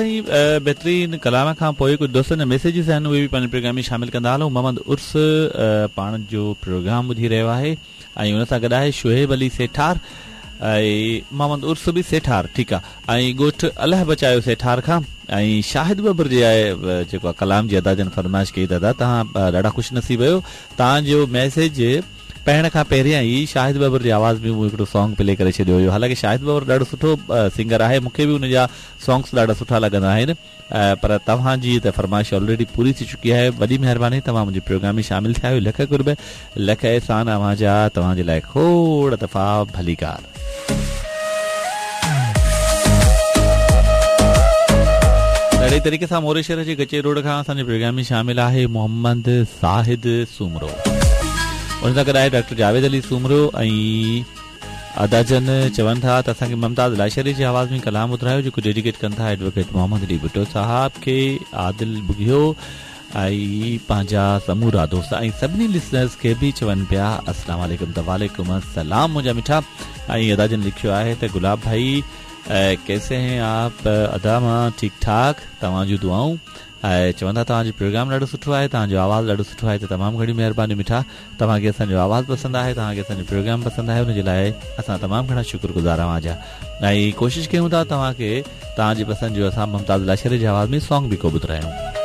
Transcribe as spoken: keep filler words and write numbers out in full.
बेहतरीन कलाम खां पोइ कुझु दोस्तनि जा मैसेजिस आहिनि, उहे बि पंहिंजे प्रोग्राम में शामिल कंदा हलूं। मोहम्मद उर्स पाण जो प्रोग्राम ॿुधी रहियो आहे ऐं उन सां गॾु आहे शुएब अली सेठार ऐं मोहम्मद उर्स बि सेठार, ठीकु आहे, ऐं ॻोठ अलाह बचायो सेठार खां ऐं शाहिद बबर जे आहे जेको आहे कलाम जी अदा जन फरमाइश कई। दादा तव्हां ॾाढा ख़ुशि नसीब आहियो, तव्हांजो मैसेज पढ़ण खां पहिरियां ई शाहिद बबर जी आवाज़ में मूं हिकिड़ो सॉन्ग प्ले करे छॾियो हुयो। हालांकि शाहिद बबर ॾाढो सुठो सिंगर आहे, मूंखे बि उनजा सॉन्ग्स ॾाढा सुठा लॻंदा आहिनि, पर तव्हांजी त फरमाइश ऑलरेडी पूरी थी चुकी आहे। वॾी महिरबानी, तव्हां मुंहिंजे प्रोग्राम में शामिल थिया आहियो। लख कुर्ब, लख एहसान अव्हां जा, तव्हांजे लाइ खोड़ दफ़ा भलीकार। अहिड़े तरीक़े सां मोरे शहर जे कचे रोड खां असांजे प्रोग्राम में शामिल आहे मोहम्मद साहिद सूमरो, उन सां गॾु आहे डॉक्टर जावेद अली सूमरो ऐं अदाजन चवनि था त असांखे ममताज़ लाशरी जी आवाज़ में कलाम ॿुधायो जेको डेडिकेट कनि था एडवोकेट मोहम्मद अली भुट्टो साहब खे, आदिल बुघियो ऐं पंहिंजा समूरा दोस्त ऐं सभिनी लिसनर्स खे बि चवनि पिया अस्सलाम वालेकुम। त वालेकुम अस्सलाम मुंहिंजा मिठा। ऐं अदाजन लिखियो आहे त गुलाब भाई कैसे हैं आप? अदा मां ठीक ठाक, तव्हां जूं दुआऊं। ऐं चवंदा तव्हांजो प्रोग्राम ॾाढो सुठो आहे, तव्हांजो आवाज़ ॾाढो सुठो आहे, त तमामु घणी महिरबानी मिठा। तव्हांखे असांजो आवाज़ पसंदि आहे, तव्हांखे असांजो प्रोग्राम पसंदि आहे, उनजे लाइ असां तमामु घणा शुक्रगुज़ार अव्हांजा। ऐं कोशिशि कयूं था तव्हांखे तव्हांजी पसंदि जो असां मुमताज़ लाशरी जी आवाज़ में सॉन्ग बि को ॿुधायूं।